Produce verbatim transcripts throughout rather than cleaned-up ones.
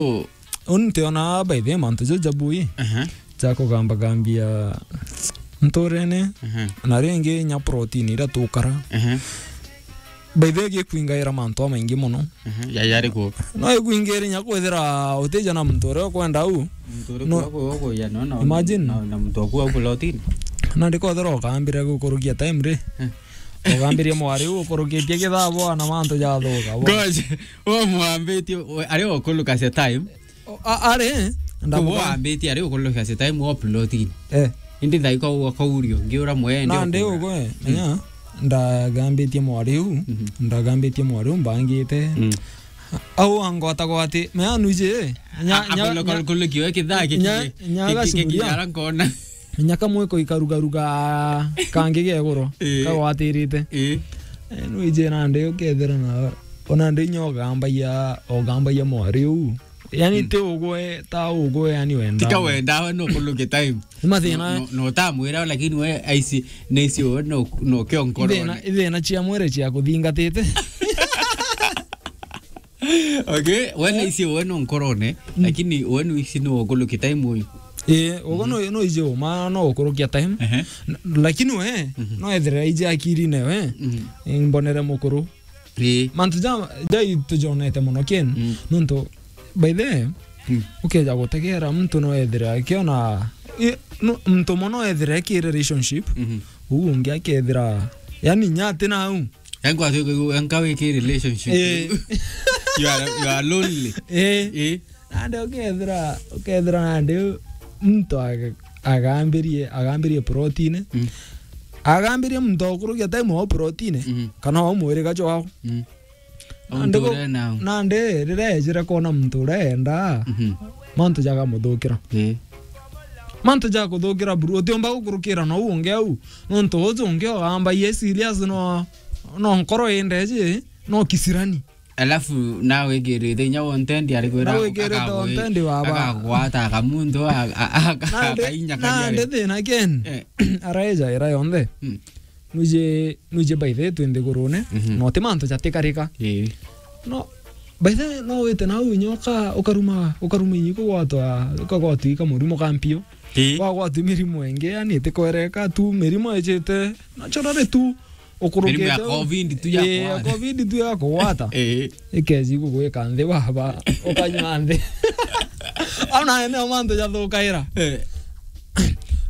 Oh. Uni ntiona by the way mantu ja jabui. Aha. Ja kugambagambia nturene. Aha. Na ringi nya protein iria tukara. Aha. By the way, gikwingaira mantu amaingi mono. Aha. Ya, yari ku? No ikwingaire nya kwithira utija na muntu uria ukwenda u. Muntu uria No. Ku, ku, ku, ya, no, no, Imagine. Na, na muntu waku au protein. Na ndikothira ukambire gukurukia time ri. Eh. Ugambirie mwari u ukurukitie kithabo na mantu jathuka. Gosh, umwambitie, we, ari ukulukacia time. O, a-, ari, ndamuga- Wambitie ari ukulukacia time wa plotini. Eh. Indi thaika uga kaurio, ngiura mwende. Na ndi ukura. Ugo, eh, Mm. Menya, ndagambitie mwari u, Mhm. Ndagambitie mwari u mbangite. Mm. Au angwata gwati, menya nuiji, eh, nya-, A-, nya-, abona nya-, kulukiwe kithaki nya-, kiki, nya kiki, kiki gacuria. Ara nkona. Inya kamwe ko ikarugaruga kangi geguru, Ii. Kagwatirite. Ii. Eh, nwiji nandi ukethira na, ona ndi inya ugambagia, ugambagia mwari u. Yani Mm. Ti ugwe, ta ugwe, yani wenda. Tika wenda, we no kuluke time. Ni mathina. No, no, no utamwira, lakini we aisi, naisi we no, no kio nkoro. Ithina, ithina cia mwiri cia kuthingatite. Okay, we naisi we no nkorone, Mm. Lakini we no isi no ukuluke time uyu. Ii, ugo Mm. No, no iji uma no ukurukia time. Ehe. N-, lakini we, Mhm. No ethire iji akirine we, Mhm. Imbonere mukuru. Ii. Mantu ja, ja itujonete mono kin, Mm. Nontu, by the way, Mm. Ukeja gutegera muntu no ethire akiona, i-, no, muntu mono ethire ki relationship, Mhm. Uu ungi akethira, yani nyati nau. Yangu ati, yangu wiki relationship. Eh. You are, you are lonely. Eh. Eh. Nandi ukethira, ukethira nandi muntu aga-, agambirie, agambirie protine. Mm. Agambirie muntu okurukia time wa protine. Mm. Kana wa mwiri gacho wao. Mm. Nandi gu-, nandi riria ejire kwona muntu uria enda, Mhm. Mantu jagamuthukira. Ii. Mantu jakuthukira buru, utiumba gukurukira na uu ungi au. Nontu uju ungi ugamba ye serious no, no nkoro indeji, no kisirani. Alafu nawe wikirite inya wontendi ari kwira. Nawe wikirite wontendi baba. Akagwata akamuntu a-, a-, a-, nandi, akainya kanyare. Nandi thina ken. Eh. Araeja ira yonthe. Mm. Nwiji, nwiji by the way twi nthigurune, Mhm. Na uti mantu jatikarika. Ii. No, by the way, no wite nau inya uka-, ukaruma, ukaruma inya ikugwatwa, ukagwatwa ika murimo ka mpio. Ii. Wagwatwa mirimo ingi, yani itikwereka tu, mirimo ijite, naturally tu, ukurukite. Mirimo ya u-, covid tu ya ii, ya kugwata. Covid tu ya kugwata. Ii. Ikezi gugwika nthi baba, ukanywa nthi. Au nayo nio mantu jathukaira. Eh.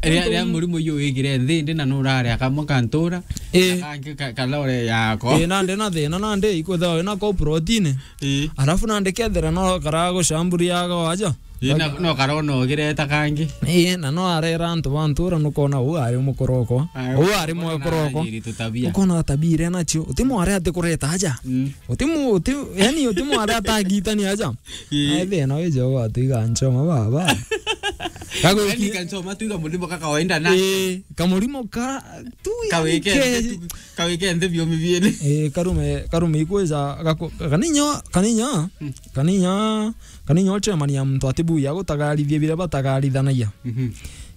Ria, ria murimo uyu wigire nthi ndi na nurare akamwe kantura, eh, na kangi ka-, kalore yako. Eh, nandi na thina, nandi ikwithirwa wina ko protini. Eh. Alafu nandi kethira no kara gucamburiaga waja. Eh, na, no karona ugireta kangi. Eh, na no arera antu ba ntura nukona uu ari mukorokwa. Uu ari mwekorokwa. Ukona tabia iria nacio. Uti mware ati kureta aja. Mm. Uti mu-, uti, yani uti mware atagitani aja. Ii. Ai, thina wi Jehova, twiga nchoma baba. Gagwiki- yani kanchoma twiga murimo ka kawaida na. Ii, kamurimo ka tu, yani kawike ke- nthi tu, kawike nthi biumi biene. Ii, karume, karume ikwija gaku-, kaninya, kaninya, hmm, kaninya, kaninya uchemania muntu atibuya gutagarithia biria batagarithanagia. Mhm.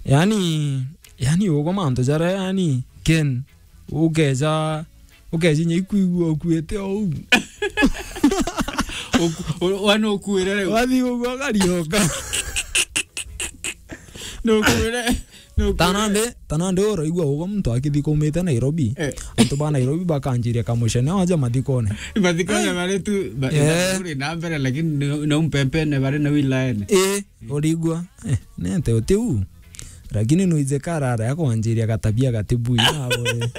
Yani, yani ugo mantu jaria yani ken ukeja, ukeja inya ikwigua ukuite ou. Uku-, u-, wa nukuire riu. Wathi ugwa ukarioka. Nukuire, nukuire. Tanande, tanande uraigua ugwa muntu akithi kumite Nairobi. Eh. Antu ba Nairobi bakanjiria kamucene waja mathikone. Mathikone. Ai. Bari tu, ba-, eh, bari na mbere, lakini ni, ni umpempene bari na wilayene. Eh, urigua. Eh, nente utiu. Lakini nuije karara ya kwanjiria gatabia gatibui nawe.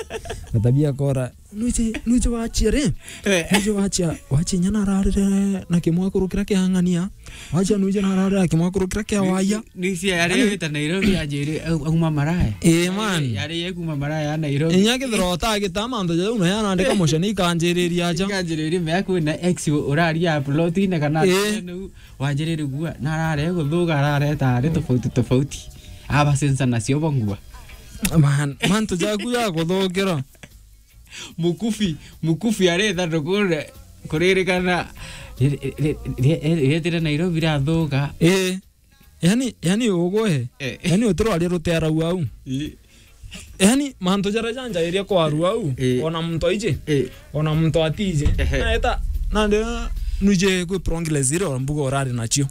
Gatabia kora. Nuije, nuije wachia ri? Eh. Nuije wachia, wachia inya nararire na kimwekuru kiria kiang'ania. Wachia nuije nararire na kimwekuru kiria kia waya. Nuije yari wita Nairobi ajiri, au-, auma Maraya. Eh, man. Yari ye kuma Maraya ya Nairobi. Inya kithira utagita mantu jau na ya nandika mucene ikanjiriria aja. Ikanjiriria me kwina ex uraria plot ine kana, eh, wanjiriri gua, na arare guthuga, arareta ari tofauti tofauti. Aba sensa nacio bongua. Man, mantu jaku ja kuthukira. Mukufi, mukufi aretha ndukure kuririkana ri-, ri-, ri-, ri-, rietire Nairobi rathuga. Eh. Yani, yani ugwe. Eh. Yani utirwaria rutearau au. Ii. Yani, mantu jaria janjairia kwarua au, eh, ona muntu aiji, eh, ona muntu atiji. Ehe. Naeta, nandi, nuje kwi progress ire mbuga urari nacio.